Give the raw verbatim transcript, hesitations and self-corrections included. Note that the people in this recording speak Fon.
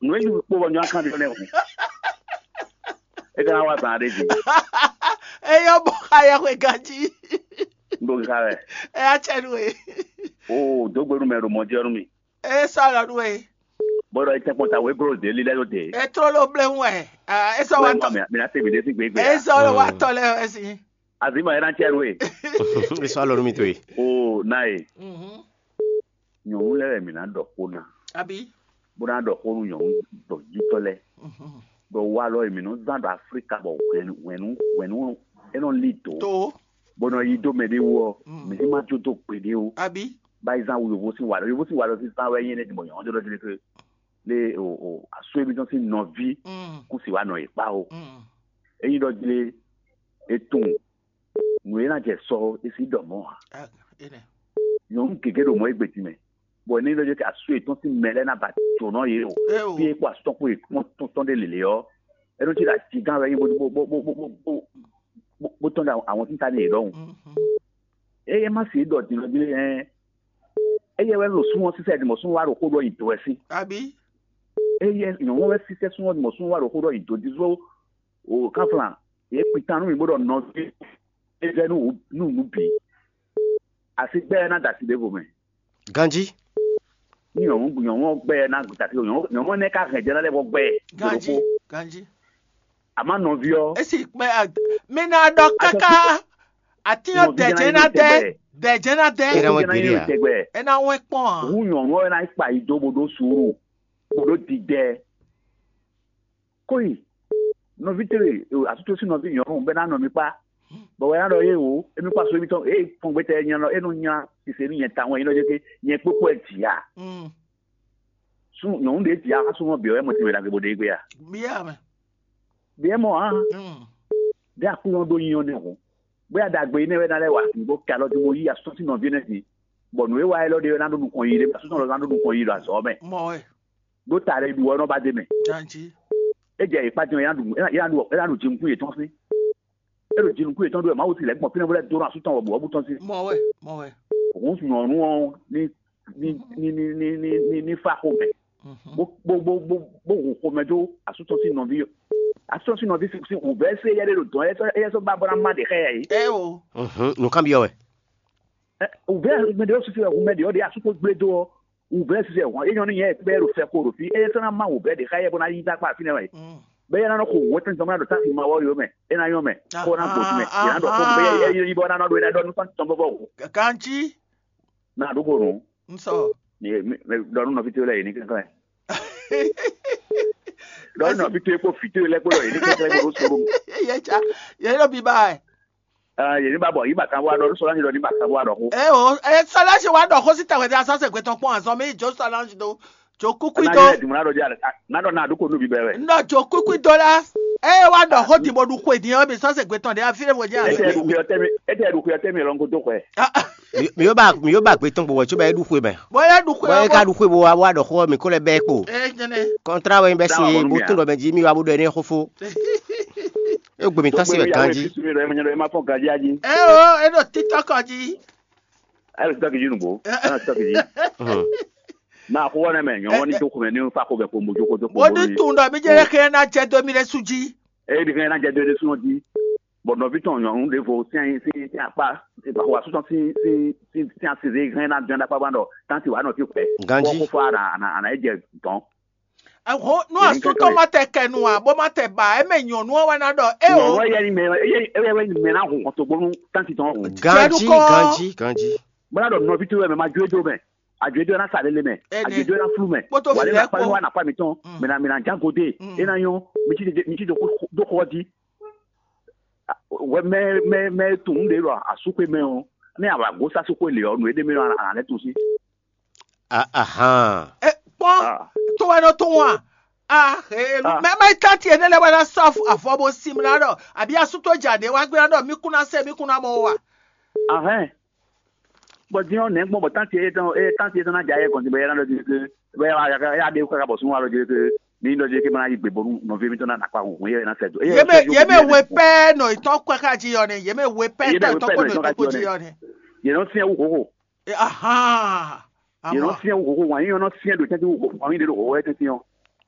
Nǔ e yí kpó bɔ nyɔ́ akán ɖé lɛ́ɛ hǔn. É ka ná wá zan ɖé jí. Eyɔ bɔ xa yɛ xwe ganjí. N ɖo xa wɛ. Ɛ atsɛnu e. O dó gbe nú mɛ ɖo mɔ jɛ nú mi. E sɔlɔ nu e. Bó ɖɔ é tɛ́nkpɔ́n ta wé glo dé lílɛ́ ɖó dé. E tró ló blé hu wɛ. E sɔ wa tɔ. Mi ná se mi ɖé sí gbégbé. E sɔ lɔ wa tɔ lɛ wɛ si. Azima é ná cɛ nú e. E sɔ alɔ nú mi to e. O ná e. Mhm. Nyɔ̌nu lɛ́ɛ wɛ mǐ ná ɖɔ xó ná. Abi. Bó ná ɖɔ xó nú nyɔ̌nu ɖɔ yítɔ́ lɛ́ɛ. Mhm. Ɖɔ walɔ e mǐ nɔ zán ɖo Aflíka bɔ hwɛ̌nu hwɛ̌nu hwɛ̌nu é nɔ lí dǒ. To. Bó nɔ yí dó mɛ ɖé wú ɔ́, Mm. mǐ ní má jó dó gbeɖé ó. Abi. Bá yi zán wu yovó sín walɔ. Yovó sín walɔ sín zán wɛ nyí énɛ́ bɔ nyɔ̌nu ɖé ɖɔ jí lé ke lé o o asú émítɔn sín nɔví Mm. kún si wá nɔ yě kpá ó. Mm. Ényí ɖɔ jí lé e tunwun nǔ e ná jɛ sɔ é sí ɖɔ mɔ̌ ǎ. Ah, ene. Nyɔ̌nu gěgé ɖo mɔ̌ égbé din mɛ. Bɔ ní ɖɔ jí asú yětɔn sín mɛ lɛ́ɛ ná ba jǒnɔ yě o. E o. Fí e kpó asú tɔn kpó yě kpɔ́n tɔn tɔn ɖé lělé ɔ́, é nɔ cí ɖo ajígán wɛ nyí bó bó bó bó bó bó bó tɔn ɖo àwọn títa ní yě ɖɔhun. Mhm. Eye má se ɖɔ din ɔ́ jí lé ɛ eye wɛ ɖo súnmọ́ sísɛ ɖi mɔ̌ súnmọ́ wá ɖo xó ɖɔ yi dǒ wɛ sí. Abi. Eye nyɔ̌nu wɛ sísɛ súnmọ́ ɖi mɔ̌ súnmọ́ wá ɖo xó ɖɔ yi dǒ dín só o kánflán yě kpi tán nú mi bó ɖɔ nɔví é vɛ nú wǔ- nú nǔ bǐ. Asi gbɛ́ ná da asi ɖěvo mɛ. Ganjí. Ní nyɔ̌nu nyɔ̌nu ɔ́ gbɛ́ ná da asi nyɔ̌nu nyɔ̌nu ɔ́ nɛ́ ká hɛn jɛ ná lɛ́ vɔ gbɛ́. Ganjí. Ganjí. Àmọ́ nɔví ɔ́ Esi kpɛ mi na ɖɔ kaka. Ati yɔ dɛjɛ na dɛ. Dɛjɛ na dɛ. Ira wọn gbiri a. Tɛgbɛ. Ena wɛ kpɔn a. Hu nyɔ̌nu ɔ́ ná kpa yi dó bó ɖó suúru bó ɖó didɛ. Kóyi nɔví tɛ́ asútó sín nɔví nyɔ̌nu bɛ́ ná nɔ mi kpá. Bɔ wɛ ná ɖɔ yé wò émi kpá so émi tɔn é fɔn gbé tɛ nyɛ lɔ é nɔ nya sise nú nyɛ tawun é nɔ jɛ ké nyɛ kpókpó ɛ jǐ a. Mm. Sú nyɔ̌nu ɖě jǐ a xá súnmọ́ bǐ ɔ́ é mɔ tɛnmɛ ɖagbe bó ɖe gbé a. Bia mɛ. Bǐ ɛ mɔ hǎn Mm. bí aklúnɔ ɖó nyi ɔ́ nɛ́ hǔn. Bóyá ɖagbe énɛ́ wɛ ná lɛ́ wà sí bó ka lɔ dó mo yí asútɔ́ sín nɔví énɛ́ din. Bɔ nǔ e wa élɔ́ ɖe ɔ́ ná ɖó nukɔn yi ɖé asútɔ́ lɔ ná ɖó nukɔn yi ɖo azɔ̌ mɛ. Mɔ wɛ. Ɖó ta ɖé ɖu ɔ́ nɔ ba dé mɛ. Janji. É jɛ yě kpá din ɔ́ é ná ɖu é ná ɖu é ná ɖu jinkún yětɔn sín. É ɖo jinkún yětɔn ɖó wɛ Mawu si lɛ̌ gbɔn fínɛ́ bó lɛ́ dó nɔ asútɔ́ wɔ bǔ ɔ́ bú tɔn sín. Mɔ wɛ. Mɔ wɛ. Òun nyɔ̌nu ɔ́ ní ní ní ní ní ní ní fá xomɛ. Mhm. Bó bó bó bó bó hun xomɛ dó asútɔ́ sín nɔví asútɔ́ sín nɔví sín wǔvɛ́ sí éyɛ́ ɖé ɖo dɔ̌n éyɛ́ sɔ́ ba bó ná má ɖě xá yɛ yìí. Ɛ o. Nǔkan byɔ́ wɛ. Wǔvɛ́ mɛ ɖé ɔ́ susu wɛ hun mɛ ɖě ɔ́ ɖě asú ko gblé dó ɔ́ wǔvɛ́ susu wɛ hɔn é nyɔ́ nú nyɛ kpɛ́ ɖo fɛ ko ɖo fí éyɛ́ sɔ́ ná má wǔvɛ́ ɖě xá yɛ bó ná yí dó akpá fínɛ́ wɛ. Mm. Bɛ́ yɛ ná nɔ xo wǔ wɛ́tɛn zɔn bó ná ɖo táfi ma wɔ yó mɛ é ná nyɔ́ mɛ kó ná gbǒ mɛ yě ná ɖɔ xó bɛ́ yɛ yí bɔ ná nɔ ɖo é ná ɖɔ nú sɔ́n tɔn bɔbɔ wò Ganji. ná ɖó ko nǔ Nsɔ. Ɖɔ nú nɔví towe lɛ́ɛ yě ní kɛnklɛ́n. Ɖɔ nɔví towe kpó vǐ towe lɛ́ɛ kpó ɖɔ yě ní kɛnklɛ́n kpó ɖó soro. Yɛ tsa. Yɛ ɖo biba ɛ. Yě ní ba bɔ yí ba kan wá ɖɔ nú sɔlá ní ɖɔ ní ba kan wá ɖɔ xó. Ɛ o. Ɛ sɔlá si wa ɖɔ xó sí tɛwɛ dé asɔsɛ gbɛtɔn kpɔn azɔn mi jo sɔlá si do. Jo kúkú Ná do. yɛ dùn ná ɖɔ dí alɛ ná ɖɔ ná ɖó ko nú bíbɛ wɛ. Nɔ jo kúkú do la. Ɛ wa ɖɔ xó ti bɔ ɖu xó èdè ɔ́ mi sɔsɛ gbɛtɔn dé afi ɖe wò jẹ́ Ete àlọ́. ɖu xuyɔ tɛmi ete ɖu xuyɔ tɛmi lɔngo dó xɔɛ. Mi yóò bá mi yóò bá gbé tɔn gbowó tso bá yé ɖu xwe mɛ. Bɔyɛ ɖu xó Wọ́n yẹ ɛ ká bɔ. ɖu xwe bó wá wá ɖɔ xó mi kó lɛ bɛɛ kpo. Ɛ jɛnɛ. Kɔntra wɛ bɛ si Dáwà ye bɔnú bó mia. Tún ɖɔ mɛ jí mi wá bó ɖɔ ɛnɛ xó fó. E gbè mi tán si wɛ ganji. Bisu mi ɖɔ ɛmɛ nyɛ ɖɔ ɛmɛ afɔ ganji aji. Ɛ o, e ɖo TikTok ɔ jí. Ayi sitɔki ji nugbo. Ayi sitɔki ji. Mhm. Na xó wɔnɛ mɛ nyɔmɔ ni tó xomɛ ni fa xomɛ ko mojo ko tó Bó ní tun ɖɔ mi jẹ́ kí ẹ ná jẹ́ dó mi ɖé sú jí. Eyi ɖi kɛ na jɛ do ɖe sún ɔdi. Bɔ nɔvi tɔn nyɔnu ɖevo sin sin sin akpa sin baxɔ asúsɔ sin sin sin sin asize hɛn na dɔn ɖakpa ban ɖɔ tanti wa nɔ ti xwɛ. Ganji. Kɔ fɔ ana ana ana ejɛ dɔn. Ɛhɔn, nú asútɔ ma tɛ kɛ nu a, bó ma tɛ ba, eme nyɔnu ɔ́ wɛ ná ɖɔ, é o. Nyɔnu ɛyɛ ni mɛ ɛyɛ ɛyɛ ni mɛ na hun xɔtɔgbɔnu tanti tɔn hun. Ganji Jɛnukɔ. Ganji Ganji. Bɔna ɖɔ nɔvi to wɛ mɛ ma jo edo mɛ. Ajo edo na sa lele mɛ. Ɛnɛ. Ajo edo na flu mɛ. Kpótó Wa fi le lɛ na kpa kpó. Wa na kpa mi tɔn. Mm. Mɛ na mɛ na jango de. Mm. E na yɔn. Mi ti de mi ti do do xɔ di. Wɛ mɛ mɛ mɛ tun de lɔ asukwe mɛ o. Ne awa go sa sukwe le ɔ nu ede mi lɔ ana lɛ tun si. Ahan. Ɛ kpɔn Ah. tó wɛ nɔ tó wọn a. Ah, ee, Ah. Mɛ mɛ tán tiɛ ne lɛ wɛ na sɔ avɔ bo sim na ɖɔ, àbí asútó dza ɖe wá gbé na ɖɔ, mí kún ná sɛ, mí kún ná mɔ wa. Ahɛn. Bɔ din ɔ nɛ gbɔn bɔ tanti etɔn e tanti etɔn na dza yɛ kɔnti bɛ yɛ na dɔ di ke bɛ ya ya ya de kaka bɔ sun wa dɔ di ke ni dɔ di ke ma na yi gbe bonu nɔvi mi tɔn na nakpa hun yɛ na sɛ do. Yé mɛ yé mɛ wé pɛ nɔ itɔ kɔ ká dzi yɔ ne, yé mɛ wé pɛ Yé mɛ tɔ wé itɔ pɛ kɔ nɔ nɔ itɔ ká itɔ kɔ dzi dzi yɔ yɔ ne. Yɛ nɔ fiɛ wu hoho. Ahan. Yɛ nɔ Amɔ. Fiɛ wu hoho wa yɛ nɔ fiɛ do tɛnti wu hoho wa yɛ de do hoho yɛ tɛnti yɔ.